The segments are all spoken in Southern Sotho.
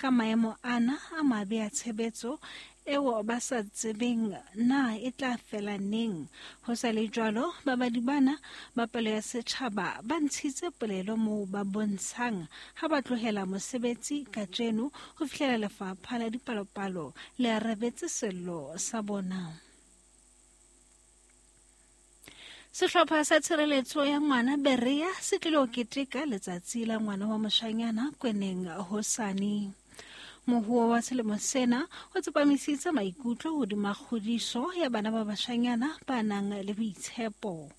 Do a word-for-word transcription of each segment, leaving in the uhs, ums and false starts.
Ka maemo ana a mabe a tshebetso eo ba sa tsebeng na e tla fela neng. Ho sa le jwalo, babadi bana ba palo ya setjhaba ba ntshitse polelo moo ba bontshang ha ba tlohela mosebetsi kajeno ho fihlela lefapha la dipalopalo le arabetse sello sa bona. Sehlopha sa tshireletso ya ngwana Berea se tlilo keteka letsatsi la ngwana wa moshanyana Kweneng hosane. Mohuo wa selemo sena o tsepamisitse maikutlo hodima kgodiso ya bana ba bashanyana ba nang le boitshepo.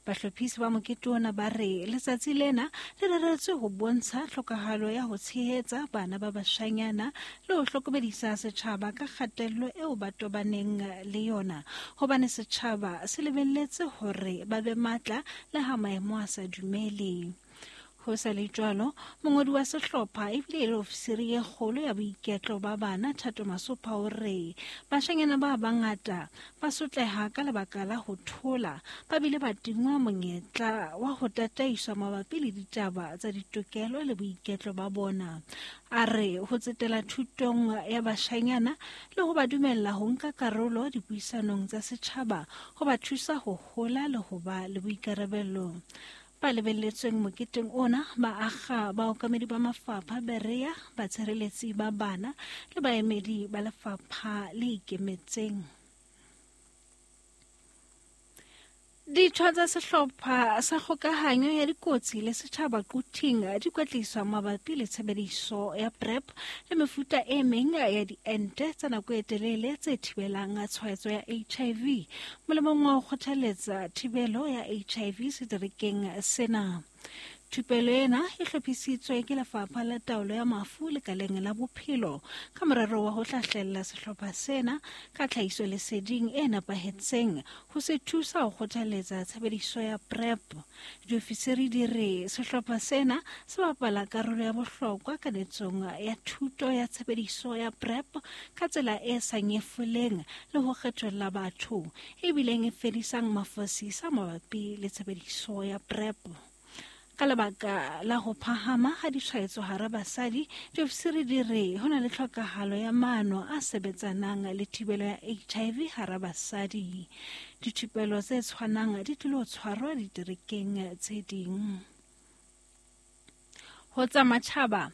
Bahlophisi ba mokete ona ba re letsatsi lena le reretswe ho bontsha tlhokahalo ya ho tshehetsa bana ba bashanyana le ho hlokomedisa setjhaba ka kgatello eo ba tobaneng le yona, hobane setjhaba se lebelletse hore ba be matla le ha maemo a sa dumele. Ho sa le jwalo, mongodi wa sehlopha ebile e le ofisiri e kgolo ya boiketlo ba bana Thato Masopha o re bashanyana ba bangata ba sotleha ka lebaka la ho thola, ba bile ba tingwa monyetla wa ho tataiswa mabapi le ditaba tsa ditokelo le boiketlo ba bona. A re ho tsetela thutong ya bashanyana le ho ba dumella ho nka karolo dipuisanong tsa setjhaba ho ba thusa ho hola le ho ba le boikarabelo. Ba lebelletsweng moketeng ona ba akga baokamedi ba mafapha Berea, batshireletsi ba bana le baemedi ba lefapha le ikemetseng. Ditho tsa sehlopha sa kgokahanyo ya dikotsi le setjhaba Quthing di kwetliswa mabapi le tshebediso ya PrEP le mefuta e meng ya diente tsa nako e telele tse thibelang tshwaetso ya H I V molemong wa ho kgothaletsa thibelo ya H I V seterekeng sena. Thupelo ena e hlophisitswe ke Lefapha la Taolo ya Mafu lekaleng la Bophelo ka morero wa ho hlahlella sehlopha sena ka tlhahisoleseding e nepahetseng ho se thusa ho kgothaletsa tshebediso ya PrEP. Diofisiri di re sehlopha sena se bapala karolo ya bohlokwa kanetsong ya thuto ya tshebediso ya PrEP ka tsela e sa nyefoleng le ho kgetholla batho, ebileng e fedisang mafosisa mabapi le tshebediso ya PrEP. Ka lebaka la ho phahama ha ditshwaetso hara basadi, diofisiri di re ho na le tlhokahalo ya maano a sebetsanang le thibelo ya H I V hara basadi. Dithupelo tse tshwanang di tlilo tshwarwa diterekeng tse ding. Ho tsa matjhaba,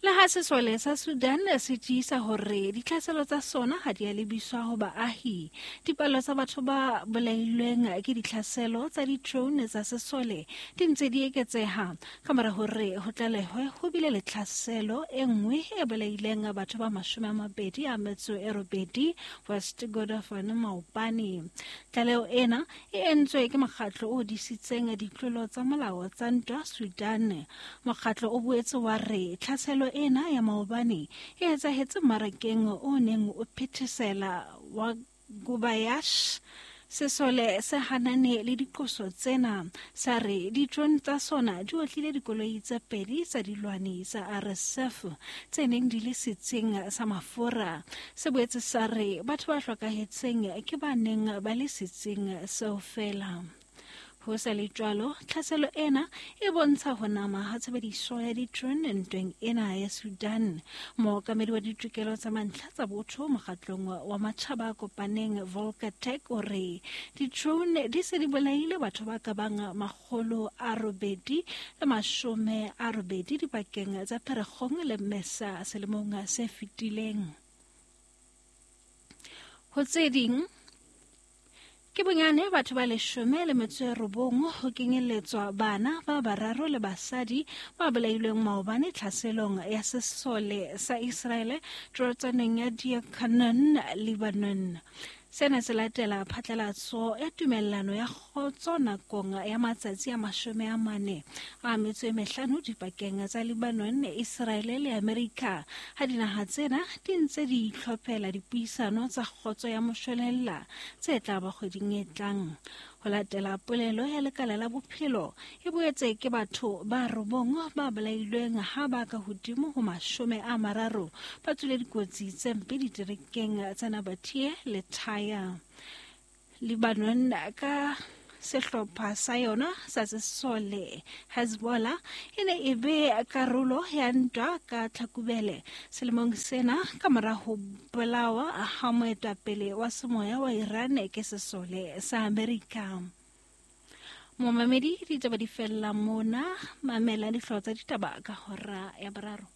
le ha sesole sa Sudan se tiisa hore ditlhaselo tsa sona ha di a lebiswa ho baahi, dipalo tsa batho ba bolailweng ke ditlhaselo tsa di-drone tsa sesole di ntse di eketseha ka mora hore ho tlalehwe ho bile le tlhaselo e nngwe e bolaileng batho ba mashome a mabedi a metso e robedi West Kordofan maobane. Tlaleho ena e entswe ke mokgatlo o disitseng ditlolo tsa molao tsa ntwa Sudan. Mokgatlo o boetse wa re tlhaselo ena ya maobane e etsahetse mmarakeng o neng o phethesela wa Gubayash. Sesole se hanane le diqoso tsena, sa re di-drone tsa sona di otlile dikoloi tse pedi tsa dilwani tsa R S F tse neng di le setsing sa mafura. Se boetse sa re batho ba hlokahetseng ke ba neng ba le setsing seo feela. Ho sa le jwalo, tlhaselo ena e bontsha ho nama ha tshebediso ya di-drone ntweng ena ya Sudan. Mookamedi wa ditokelo tsa mantlha tsa botho mokgatlong wa matjhaba a kopaneng Volker Turk o re di-drone di se di bolaile batho ba ka bang makgolo a robedi le mashome a robedi dipakeng tsa Pherekgong le Mmesa selemong se fetileng. Ho tse ding, ke bonyane batho ba leshome le metso e robong ho kenyelletswa bana ba bararo le basadi ba bolailweng maobane tlhaselong ya sesole sa Israele torotswaneng ya Deir Qanoun, Lebanon. Sena se latela phatlalatso ya tumellano ya kgotso nakong ya matsatsi a mashome a mane a metso e mehlano dipakeng tsa Lebanon, Israele le Amerika, ha dinaha tsena di ntse di itlhophela dipuisano tsa kgotso ya moshwelella tse tla ba kgweding e tlang. Ho latela polelo ya lekala la bophelo, e boetse ke batho ba robong ba bolailweng ha ba ka hodimo ho mashome a mararo ba tswile dikotsi tse mpe diterekeng tsa Nabatie le Tyre. Lebanon ka Sehlopha sa yona sa sesole Hezbollah e ne e be karolo ya ntwa ka Tlhakubele selemong sena ka mora ho bolawa ha moetapele wa semoya wa Iran ke sesole sa Amerika. Momamedi, ditaba di fella mona. Mamela dihlooho tsa ditaba ka hora ya boraro.